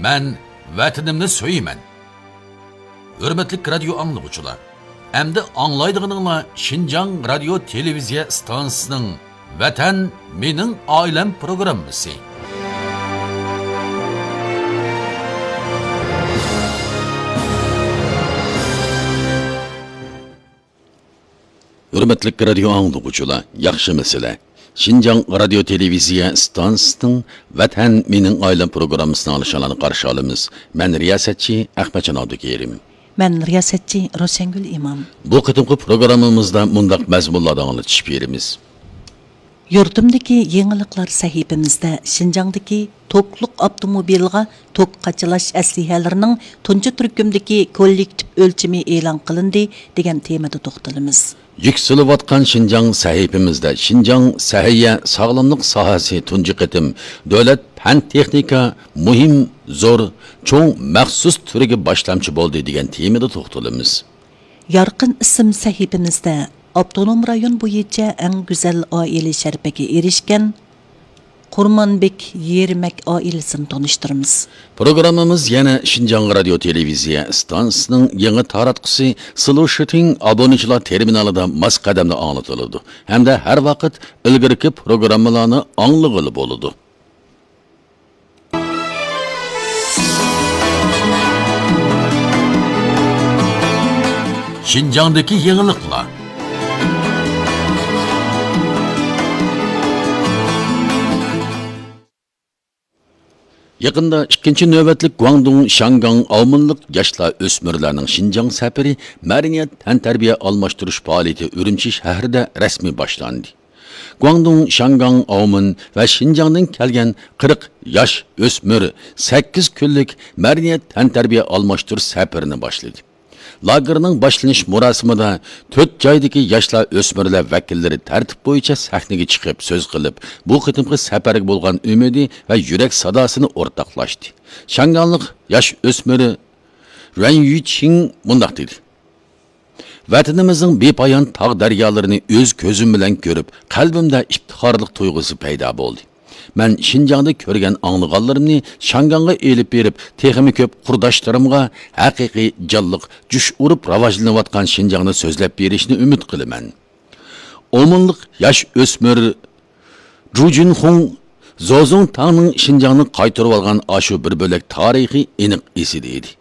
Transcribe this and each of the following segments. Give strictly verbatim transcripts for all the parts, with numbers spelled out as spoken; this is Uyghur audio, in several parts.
مەن ۋەتىنىمنى سۆيىمەن. ھۆرمەتلىك رادىيو ئاڭلىغۇچىلار، ئەمدى ئاڭلايدىغىنىڭلار شىنجاڭ رادىيو تېلېۋىزىيە ئىستانسىسىنىڭ ۋەتەن مېنىڭ ئائىلەم پروگراممىسى. ھۆرمەتلىك رادىيو ئاڭلىغۇچىلار، ياخشىمۇسىلەر؟ شىنجاڭ رادىيو تېلېۋىزىيە ئىستانسىسىنىڭ ۋەتەن مېنىڭ ئائىلەم پروگراممىسىنى ئاڭلىشىڭلارنى قارشى ئالىمىز. مەن رىياسەتچى ئەخمەتجان ئابدۇكېرىم. مەن رىياسەتچى روشەنگۈل ئىمام. بۇ قېتىمقى پروگراممىمىزدا مۇنداق مەزمۇنلاردا ئاڭلىتىش بېرىمىز. يۇرتۇمدىكى يېڭىلىقلار سەھىپىمىزدە شىنجاڭدىكى توكلۇق ئاپتوموبىلغا توك قاچىلاش ئەسلىھەلىرىنىڭ تۇنجى تۈركۈمدىكى كوللېكتىپ ئۆلچىمى ئېلان قىلىندى دېگەن تېمىدا توختىلىمىز. يۈكسىلىۋاتقان شىنجاڭ سەھىپىمىزدە شىنجاڭ سەھىيە ساغلاملىق ساھەسى تۇنجى قېتىم دۆلەت پەن تېخنىكا مۇھىم، زور، چوڭ مەخسۇس تۈرىگە باشلامچى بولدى دېگەن تېمىدا توختىلىمىز. يارقىن ئىسىم سەھىپىمىزدە ئاپتونوم رايون بويىچە ئەڭ گۈزەل ئائىلە شەرىپىگە ئېرىشكەن قۇرمانبېك يېرمەك ئائىلىسىنى تونۇشتۇرىمىز. پروگراممىمىز يەنە شىنجاڭ رادىيو تېلېۋىزىيە ئىستانسىسىنىڭ يېڭى تاراتقۇسى سلۇشىتىڭ ئابۇنىچىلار تېرمىنالىدا ماس قەدەمدە ئاڭلىتىلىدۇ ھەمدە ھەر ۋاقىت ئىلگىرىكى پروگراممىلارنى ئاڭلىغىلى بولىدۇ. شىنجاڭدىكى يېڭىلىقلار. يېقىندا ئىككىنچى نۆۋەتلىك گۇاڭدۇڭ شياڭگاڭ ئاۋمېنلىق ياشلار ئۆسمۈرلەرنىڭ شىنجاڭ سەپىرى مەدەنىيەت تەنتەربىيە ئالماشتۇرۇش پائالىيىتى ئۈرۈمچى شەھىرىدە رەسمىي باشلاندى. گۇاڭدۇڭ شياڭگاڭ ئاۋمېن ۋە شىنجاڭدىن كەلگەن قىرىق ياش ئۆسمۈر سەككىز كۈنلۈك مەدەنىيەت تەنتەربىيە ئالماشتۇرۇش سەپىرىنى باشلىدى. لاگېرنىڭ باشلىنىش مۇراسىمىدا تۆت جايدىكى ياشلار ئۆسمۈرلەر ۋەكىللىرى تەرتىپ بويىچە سەھنىگە چىقىپ سۆز قىلىپ، بۇ قېتىمقى سەپەرگە بولغان ئۈمىدى ۋە يۈرەك ساداسىنى ئورتاقلاشتى. شياڭگاڭلىق ياش ئۆسمۈر رۈەن يۈچىڭ مۇنداق دېدى: ۋەتىنىمىزنىڭ بىپايان تاغ دەريالىرىنى ئۆز كۆزۈم بىلەن كۆرۈپ، قەلبىمدە ئىپتىخارلىق تۇيغۇسى پەيدا بولدى. مەن شىنجاڭدا كۆرگەن ئاڭلىغانلىرىمنى شياڭگاڭغا ئېلىپ بېرىپ، تېخىمۇ كۆپ قۇرداشلىرىمغا ھەقىقىي جانلىق جۇش ئۇرۇپ راۋاجلىنىۋاتقان شىنجاڭنى سۆزلەپ بېرىشنى ئۈمىد قىلىمەن. ئومۇنلۇق ياش ئۆسمۈر جۇ جۈنخۇڭ زوزۇڭ تاڭنىڭ شىنجاڭنى قايتۇرۇۋالغان ئاشۇ بىر بۆلەك تارىخى ئېنىق ئېسىدە ئىدى.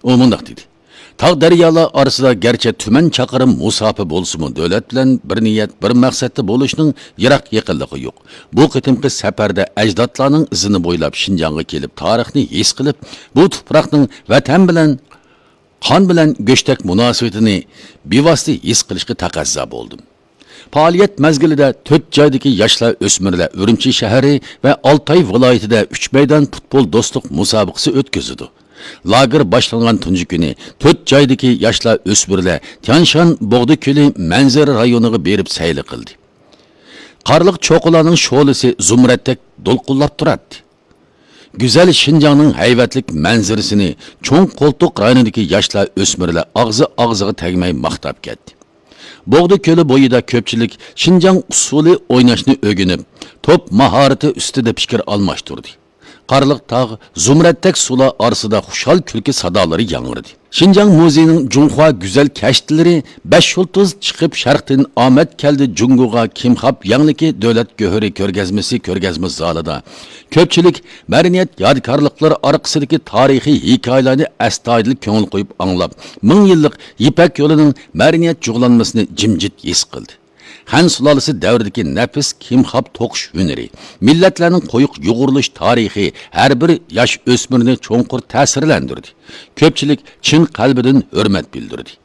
ئۇ مۇنداق دېدى: تاغ دەريالار ئارىسىدا گەرچە تۈمەن چاقىرىم مۇساپە بولسىمۇ، دۆلەت بىلەن بىر نىيەت، بىر مەقسەتتە بولۇشنىڭ يىراق يېقىنلىقى يوق. بۇ قېتىمقى سەپەردە ئەجدادلارنىڭ ئىزىنى بويلاپ شىنجاڭغا كېلىپ، تارىخنى ھېس قىلىپ، بۇ تۇپراقنىڭ ۋەتەن بىلەن قان بىلەن گۆشتەك مۇناسىۋىتىنى بىۋاسىتە ھېس قىلىشقا تەقەززا بولدۇم. پائالىيەت مەزگىلىدە تۆت جايدىكى ياشلار ئۆسمۈرلەر ئۈرۈمچى شەھىرى ۋە ئالتاي ۋىلايىتىدە ئۈچ مەيدان پۇتبول دوستلۇق مۇسابىقىسى ئۆتكۈزىدۇ. لاگېر باشلانغان تۇنجى كۈنى تۆت جايدىكى ياشلار ئۆسمۈرلەر تيانشان بوغدا كۆلى مەنزىرە رايونىغا بېرىپ سەيلە قىلدى. قارلىق چوققىلارنىڭ شولىسى زۇمرەتتەك دولقۇنلاپ تۇراتتى. گۈزەل شىنجاڭنىڭ ھەيۋەتلىك مەنزىرىسىنى چوڭ قولتۇق رايونىدىكى ياشلار ئۆسمۈرلەر ئاغزى ئاغزىغا تەگمەي ماختاپ كەتتى. بوغدا كۆلى بويىدا كۆپچىلىك شىنجاڭ ئۇسسۇلى ئويناشنى ئۆگىنىپ، توپ ماھارىتى ئۈستىدە پىكىر ئالماشتۇردى. قارلىق تاغ، زۇمرەتتەك سۇلار ئارىسىدا خۇشال كۈلكە سادالىرى ياڭرىدى. شىنجاڭ مۇزېيىنىڭ جۇڭخۇا گۈزەل كەشتىلىرى بەش يۇلتۇز چىقىپ شەرقتىن ئامەت كەلدى جۇڭگوغا كىمخاب يەڭلىكى دۆلەت گۆھىرى كۆرگەزمىسى كۆرگەزمە زالىدا كۆپچىلىك مەدەنىيەت يادىكارلىقلىرى ئارقىسىدىكى تارىخىي ھېكايىلەرنى ئەستايىدىل كۆڭۈل قويۇپ ئاڭلاپ، مىڭ يىللىق يىپەك يولىنىڭ مەدەنىيەت جۇغلانمىسىنى جىمجىت ھېس قىلدى. خەن سۇلالىسى دەۋرىدىكى نەپىس كىمخاب توقۇش ھۈنىرى، مىللەتلەرنىڭ قويۇق يۇغۇرۇلۇش تارىخى ھەر بىر ياش ئۆسمۈرنى چوڭقۇر تەسىرلەندۈردى. كۆپچىلىك چىن قەلبىدىن ھۆرمەت بىلدۈردى.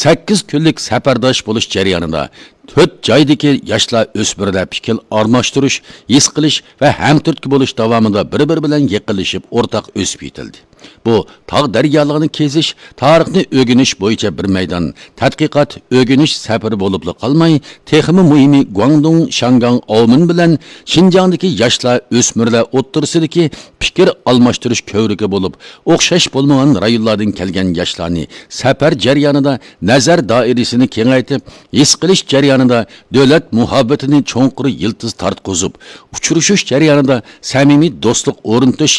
سەككىز كۈنلۈك سەپەرداش بولۇش جەريانىدا تۆت جايدىكى ياشلار ئۆسمۈرلەر پىكىر ئالماشتۇرۇش، ھېس قىلىش ۋە ھەمتۈرتكە بولۇش داۋامىدا بىر-بىرى بىلەن يېقىنلىشىپ ئورتاق ئۆسۈپ يېتىلدى. بۇ تاغ دەريالارنى كېزىش، تارىخنى ئۆگىنىش بويىچە بىر مەيدان تەتقىقات، ئۆگىنىش سەپىرى بولۇپلا قالماي، تېخىمۇ مۇھىمى گۇاڭدۇڭ، شياڭگاڭ، ئاۋمېن بىلەن شىنجاڭدىكى ياشلار، ئۆسمۈرلەر ئوتتۇرىسىدىكى پىكىر ئالماشتۇرۇش كۆۋرۈكى بولۇپ، ئوخشاش بولمىغان رايونلاردىن كەلگەن ياشلارنى سەپەر جەريانىدا نەزەر دائىرىسىنى كېڭەيتىپ، ھېس قىلىش جەريانىدا دۆلەت مۇھەببىتىنى چوڭقۇر يىلتىز تارتقۇزۇپ، ئۇچرىشىش جەريانىدا سەمىمىي دوستلۇق ئورنىتىش